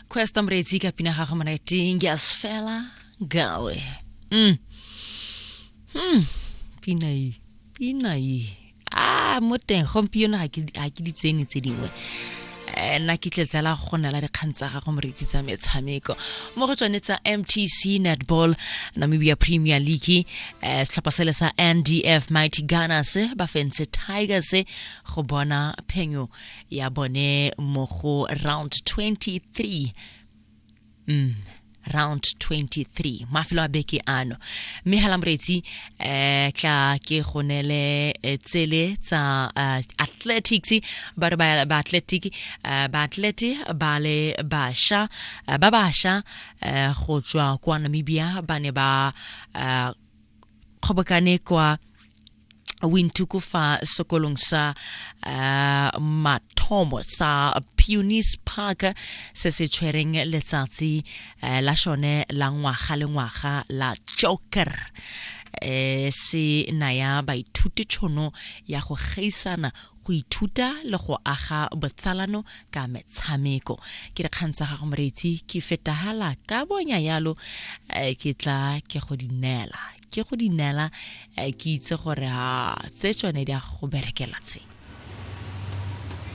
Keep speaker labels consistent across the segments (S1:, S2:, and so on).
S1: Quest Mretsi ka pina gago monate Ngiyasifela Ngawe. Pina e, pina e. Ah, mo teng gompieno ga ke di tsene tse dingwe. Nna ke tletsela go nela dikgang tsa gago moreetsi tsa metshameko mo go tsone tsa MTC Netball Namibia Premier League. Setlhopha sele sa NDF Mighty Gunners ba fentse Tigers go bona phenyo ya bone mo go round 23. Round 23, mafelo a beke ano. Mme hela moreetsi, tla ke go nele tsele tsa athletics. Ba re ba athletic, ba athlete ba le basha, ba basha go tswa kwa Namibia ba ne ba kgobokane kwa Windhoek fa sekolong sa mathomo sa Punis Park se se tshwereng letsatsi la shone la ngwaga le ngwaga la Joker. Se naya baithuti tšhono ya go gaisana, go ithuta le go aga botsalano ka metshameko. Ke dikgang tsa gago moreetsi, ke fetahala ka bonya yalo, ke tla ke go di neela, ke go di neela, ke itse gore ha tse tsone di a go berekela. Tse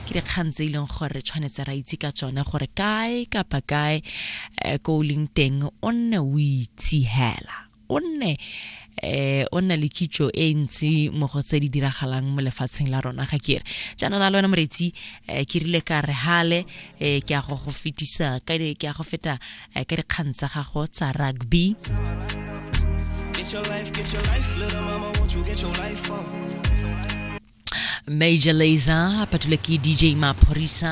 S1: ke dikgang tse e leng gore tshwanetse ra itse ka tsone gore kae kapa kae ko o leng teng o nne o itse hela, o nne o nna le kitso e ntsi mo go tse di diragalang mo lefatsheng la rona. Ga ke re jaana na le wena moretsi, ke rile ka re hale ke a go go fetisa ka ke a go feta ka dikgang tsa gago tsa rugby.
S2: Get your life, get your life, little mama, won't you get your life on?
S1: Major Lazer patule ke DJ Maphorisa.